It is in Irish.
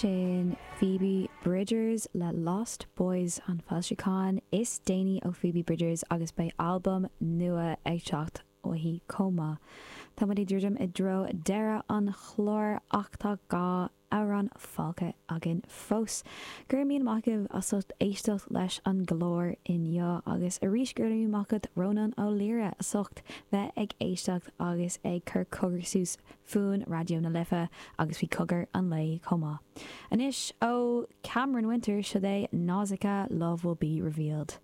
Sin Phoebe Bridgers le Lost Boys, an foilseachán is déanaí ó Phoebe Bridgers agus beidh albam nua ag teacht uaithi chomh maith. Tá muid ag druidim i dtreo deireadh an chláir ach tá 2 amhrán fágtha againn fós. Go raibh míle maith agaibh as ucht éisteacht leis an gclár inniu agus arís go raibh míle maith agat Rónán Ó Laoire as ucht bheith ag éisteacht agus ag cur cogar suas fúinn Raidió na Life agus faoi Cogar an Lae chomh maith. Anois ó Cameron Winter, seo é Nausicaa, Love Will Be Revealed.